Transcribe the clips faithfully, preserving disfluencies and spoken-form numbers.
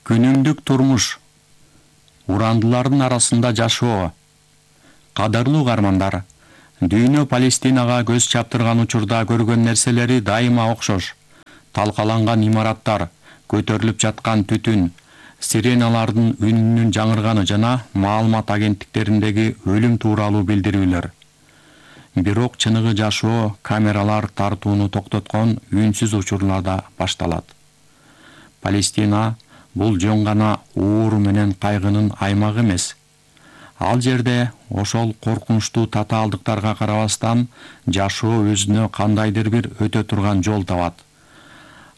Күнүмдүк турмуш, урандылардын арасында жашоо. Кадырлуу угармандар, дүйнө Палестинага көз чаптырган учурда көргөн нерселери дайыма окшош. Талкаланган имараттар, көтөрүлүп жаткан түтүн, сиреналардын үнүнүн жаңырганы жана маалымат агенттиктериндеги өлүм тууралуу билдирүүлөр. Бирок чыныгы жашоо камералар тартууну токтоткон үнсүз учурларда башталат. Палестина бул жөн гана ууру менен кайгынын аймагы эмес. Ал жерде ошол коркунучтуу татаалдыктарга карабастан жашоо өзүнө кандайдыр бир өтө турган жол табат.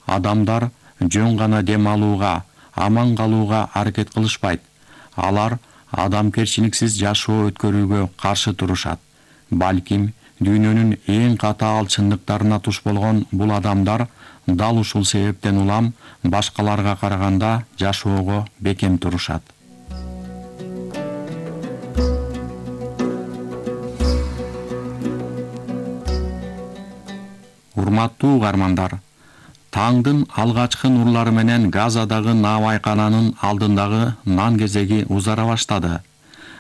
Адамдар жөн гана дем алууга, аман калууга аракет кылышпайт. Алар адамгерчиликсиз жашоо өткөрүүгө каршы турушат. Балким дүйнөнүн эң катаал чындыктарына туш болгон бул адамдар дал ушул себептен улам башкаларга караганда жашоого бекем турушат. Урматтуу угармандар, таңдын алгачкы нурлары менен Газадагы наабайкананын алдындагы нан кезеги узара баштады.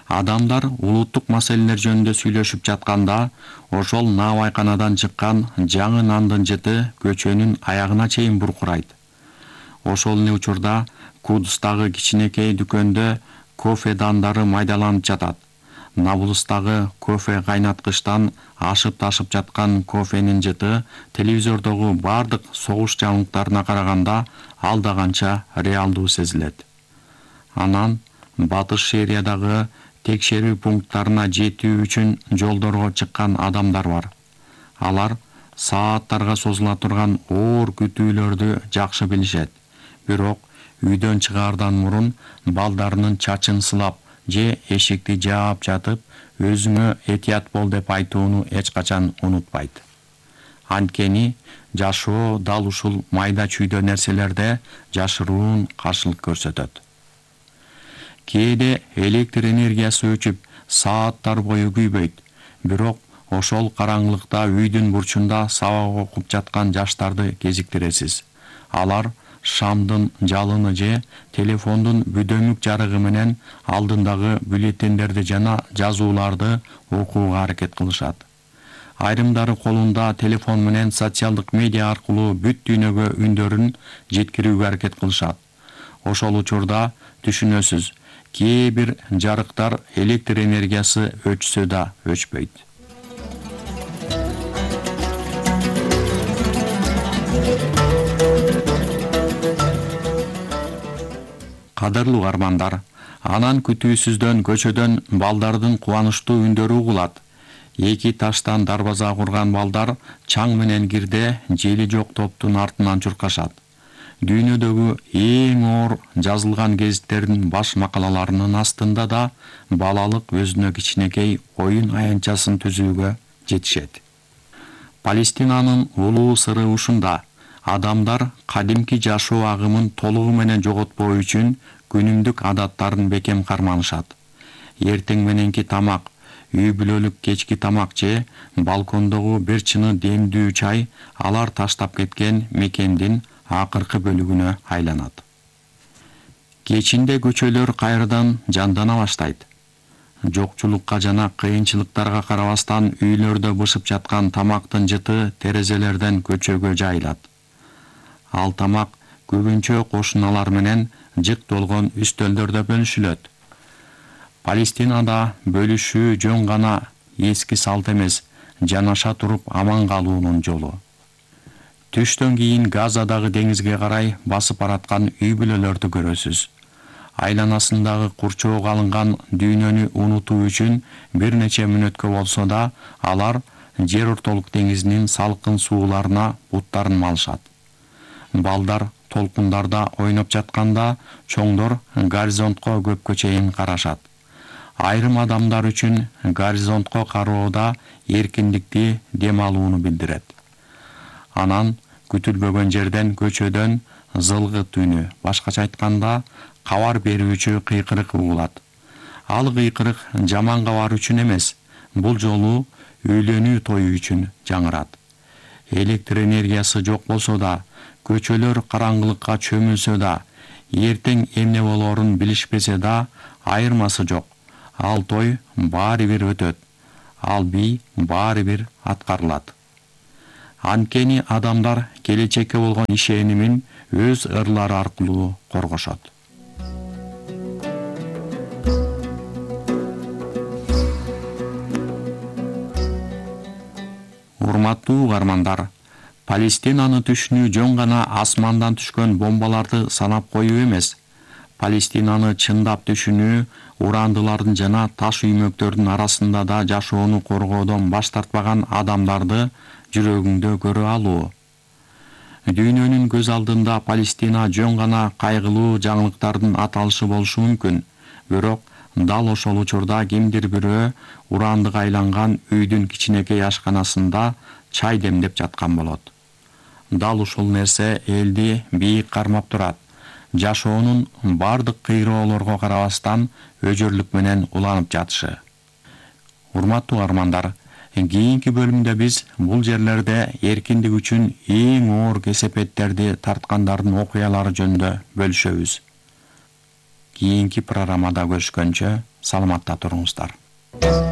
Адамдар улуттук маселелер жөнүндө сүйлөшүп жатканда, ошол наабайканадан чыккан жаңы нандын жыты көчөнүн аягына чейин буркурайт. Ошол эле учурда Кудустагы кичинекей дүкөндө кофе дандары майдаланып жатат. Набулустагы кофе кайнаткычтан ашып ташып жаткан кофенин жыты телевизордогу бардык согуш жаңылыктарына караганда алда канча реалдуу сезилет. Анан Батыш Сириядагы текшерүү пункттарына жетүү үчүн жолдорго чыккан адамдар бар. Алар сааттарга созула турган оор күтүүлөрдү жакшы билишет. Бирок үйдөн чыгаардан мурун балдарынын чачын сылап же эшикти жаап жатып, өзүңө этият бол деп айтууну эч качан унутпайт. Анткени жашоо дал ушул майда чүйдө нерселерде жашыруун каршылык көрсөтөт. Кээде электр энергиясы өчүп, сааттар бою күйбөйт. Бирок ошол караңгылыкта үйдүн бурчунда сабак окуп жаткан жаштарды кезиктиресиз. Алар шамдын жалыны же телефондун бүдөмүк жарыгы менен алдындагы бюллетендерди жана жазууларды окууга аракет кылышат. Айрымдары колунда телефон менен социалдык медиа аркылуу бүт дүйнөгө үндөрүн жеткирүүгө аракет кылышат. Ошол учурда түшүнөсүз, кээ бир жарыктар электр энергиясы өчсө да өчпөйт. Кадырлуу угармандар, анан күтүүсүздөн көчөдөн балдардын кубанычтуу үндөрү угулат. Эки таштан дарбаза курган балдар чаң менен кирде жели жок топтун артынан чуркашат. Дүйнөдөгү эң оор жазылган гезиттердин баш макалаларынын астында да балалык өзүнө кичинекей оюн аянтчасын түзүүгө жетишет. Палестинанын улуу сыры ушунда. Адамдар кадимки жашоо агымын толугу менен жоготпоо үчүн күнүмдүк адаттарын бекем карманышат. Эртең мененки тамак, үй бүлөлүк кечки тамак же балкондогу бир чыны демдүү чай алар таштап кеткен мекендин акыркы бөлүгүнө айланат. Кечинде көчөлөр кайрадан жандана баштайт. Жокчулукка жана кыйынчылыктарга карабастан үйлөрдө бышып жаткан тамактын жыты терезелерден көчөгө жайылат. Ал тамак көбүнчө кошуналар менен жык толгон үстөлдөрдө бөлүшүлөт. Палестинада бөлүшүү жөн гана эски салт эмес, жанаша туруп аман калуунун жолу. Түштөн кийин Газадагы деңизге карай басып бараткан үй бүлөлөрдү көрөсүз. Айланасындагы курчоого алынган дүйнөнү унутуу үчүн бир нече мүнөткө болсо да алар Жер ортолук деңизинин салкын сууларына буттарын малышат. Балдар толкундарда ойноп жатканда чоңдор горизонтко көпкө чейин карашат. Айрым адамдар үчүн горизонтко кароо да эркиндикти, дем алууну билдирет. Анан күтүлбөгөн жерден көчөдөн зылгыт үнү, башкача айтканда кабар берүүчү кыйкырык угулат. Ал кыйкырык жаман кабар үчүн эмес, бул жолу үйлөнүү тою үчүн жаңырат. Электр энергиясы жок болсо да, көчөлөр караңгылыкка чөмүлсө да, эртең эмне болоорун билишпесе да айырмасы жок. Ал той баары бир өтөт. Ал бий баары бир аткарылат. Анткени адамдар келечекке болгон ишенимин өз ырлары аркылуу коргошот. Урматтуу угармандар, Палестинаны түшүнүү жөн гана асмандан түшкөн бомбаларды санап коюу эмес. Палестинаны чындап түшүнүү урандылардын жана таш үймөктөрдүн арасында да жашоону коргоодон баш тартпаган адамдарды жүрөгүңдө көрө алуу. Дүйнөнүн көз алдында Палестина жөн гана кайгылуу жаңылыктардын аталышы болушу мүмкүн, бирок дал ошол учурда кимдир бирөө урандык айланган үйдүн кичинекей ашканасында чай демдеп жаткан болот. Дал ушул нерсе элди бийик кармап турат. Жашоонун бардык кыйроолорго карабастан өжөрлүк менен уланып жатышы. Урматтуу армандар, кийинки бөлүмдө биз бул жерлерде эркиндик үчүн эң оор кесепеттерди тарткандардын окуялары жөнүндө бөлүшөбүз. Кийинки программада көрүшкөнчө саламатта туруңуздар.